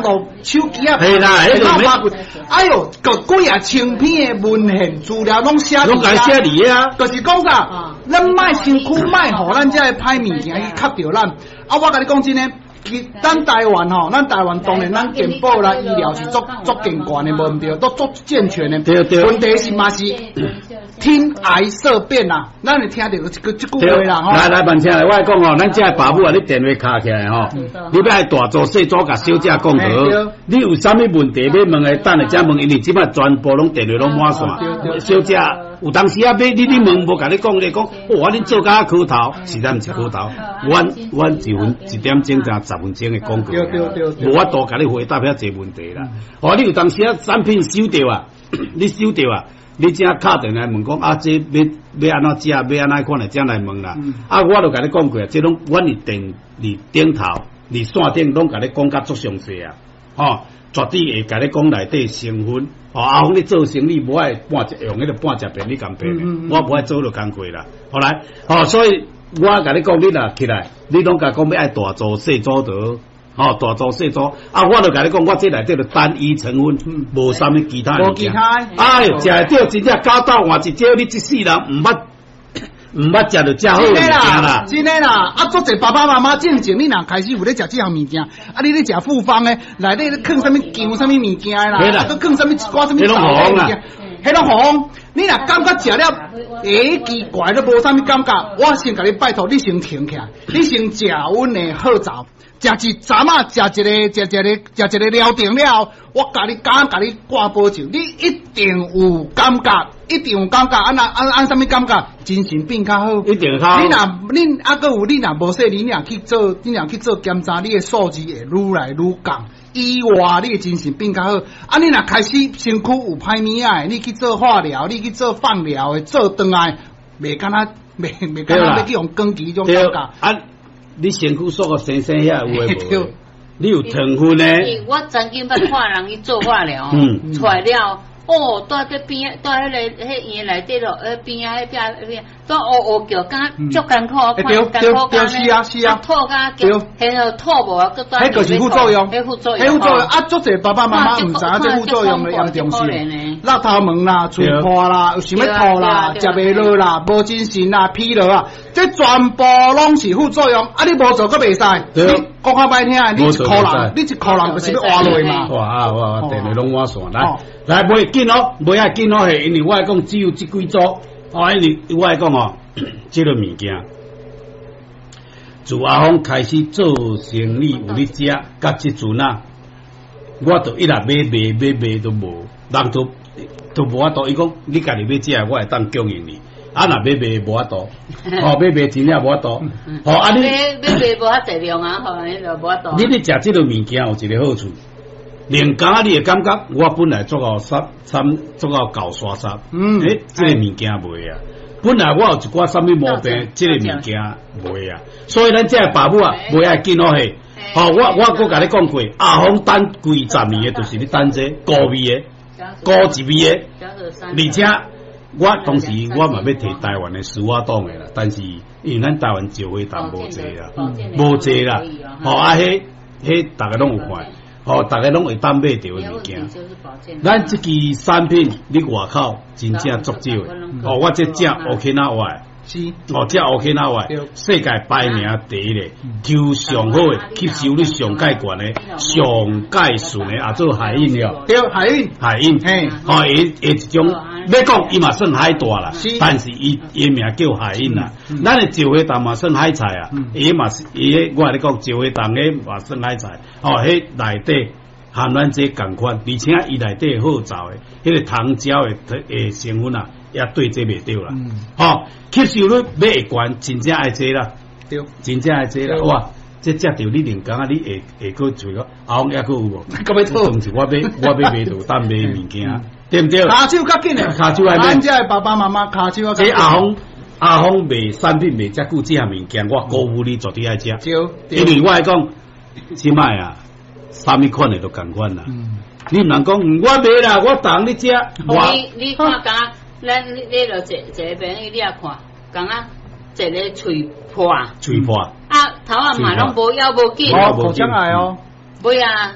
絡、手機啊，嘿啦彼就免哎喲，個幾啊千篇的文獻資料攏寫攏共寫佇遐。就是講啥，咱莫身軀莫予咱這个歹物件去吸著咱。啊，我共你講真的，其咱台灣吼，咱台灣當然咱健保啦、醫療是足足健全的，無毋對，都足健全的。對對。問題是嘛是聽癌色變啦，咱會聽著這句話啦吼。來來，萬請來，我來講吼，咱這个爸母啊，你電話敲起來吼，你欲愛大組細組共小姐講好，你有啥物問題欲問的，等下才問，因為這擺全部攏電話攏滿線，小姐有當時啊，欲你問無共你講，你講，哦，恁做甲苦頭，實在毋是苦頭，阮阮一分一點鐘才10分鐘的廣告，無法度共你回答遐濟問題啦。哦，你有當時啊，產品收著啊，你收著啊。你才敲電話問講啊，這欲欲按怎食，欲按怎款的，才來問啦。啊，我就共你講過啊，這攏阮佇電佇頂頭，佇線頂攏共你講甲足詳細啊。吼，絕對會共你講內底成分。吼，阿峰你做生意無愛半隻用彼個半隻便你共騙的，我無愛做落工課啦。後來，吼，所以我共你講，你若起來，你攏共講欲愛大組細組的。吼，大組細組啊！我就共你講，我這內底就單一成分，無啥物其他物件。哎喲，食會著真正九斗換一招，你這世人毋捌毋捌食著遮好物件啦！真的啦！啊，足濟爸爸媽媽進前，你若開始有咧食這項物件，啊，你咧食複方的，內底咧囥啥物薑啥物物件的啦，啊，閣囥啥物一寡啥物豆的物件，彼攏予你若感覺食了，欸，奇怪，都無啥物感覺。我先共你拜託，你先停起來，你先食阮的好棗。食一陣仔，食一个，食一个，食一个療程了後，我共你敢共你掛保證，你一定有感覺，一定有感覺。按那按按啥物感覺？精神變較好。一定較好。你若恁啊，閣有你若無說，你若去做，你若去做檢查，你的數字會愈來愈降。以外，你的精神變較好。啊，你若開始身軀有歹物仔的，你去做化療，你去做放療的，做轉來，袂敢若袂袂敢若欲去予光記彼種感覺。啊。你身軀縮個生生遐有的無？你有糖分呢？我曾經捌看人去做化療，出來了，哦，蹛佇邊，蹛彼个彼醫院內底咯，邊仔彼邊彼邊，蹛烏烏叫，敢若足艱苦，看艱苦對是啊是啊，吐甲叫，然後吐無啊，閣彼就是副作用，彼副作用，彼副作用啊！足濟爸爸媽媽毋知影這副作用的嚴重性，落頭毛啦、喙破啦、想欲吐啦、食袂落啦、無精神啦、疲勞啊，這全部攏是副作用。啊，你無做閣袂使，你講較歹聽，你一箍人，你一箍人就是欲活落嘛。哇啊哇！電話攏滿線，來來，袂緊哦，袂愛緊哦，嘿，因為我愛講只有這幾組，哦，因為我愛講哦，這個物件，自阿峰開始做生意有咧食，佮這陣啊，我都一直欲賣欲賣都無，人都都無法度。伊講你家己欲食，我會當供應你。啊，若欲賣無法度，哦，欲賣真正無法度。哦，啊你欲賣無遐濟量啊，吼，你就無法度。你咧食這個物件有一個好處，兩工你會感覺我本來足夠殺參足夠厚沙沙，欸，這個物件袂啊。本來我有一寡啥物毛病，這個物件袂啊。所以咱這个爸母啊，袂愛緊哦嘿。吼，我我閣共你講過，阿峰等幾十年的，就是咧等這個菇味的，菇一味的，而且我當時我嘛欲提台灣的司法黨的啦，但是因為咱台灣石花糖無濟啦，無濟啦，吼啊，彼彼逐家攏有看，吼，逐家攏會當買著的物件。咱這支產品你外口真正足少的，哦，我這食 Okinawa 的，哦，食 Okinawa 的，世界排名第一的，抽上好的，吸收率上蓋懸的，上蓋順的，也做海印了。對，海印，海印，嘿，哦，伊伊一種，欲講伊嘛算海帶啦，但是伊伊名叫海印啦。咱的石花糖嘛算海菜啊，伊嘛是伊，我共你講石花糖彼嘛算海菜，哦，彼內底含咱這仝款，而且伊內底好棗的，彼個糖膠的的成分啊，也對這袂著啦。吼，吸收率欲會懸，真正愛這啦，真正愛這啦，哇！這食著你兩工啊，你會會閣揣個阿峰抑閣有無？閣欲討當時我買我欲賣就當賣物件，對毋對？跤手較緊的，跤手愛買。咱遮的爸爸媽媽跤手較緊。這阿峰阿峰賣產品賣遮久，這項物件我鼓舞你絕對愛食。因為我愛講，這擺啊，啥物款的都仝款啦。你毋通講我賣啦，我逐日咧食。你你看，敢若咱你你著一一個朋友你也看，敢若一个喙破，喙破，啊頭仔嘛攏無枵無緊，哦，口腔癌哦，尾啊，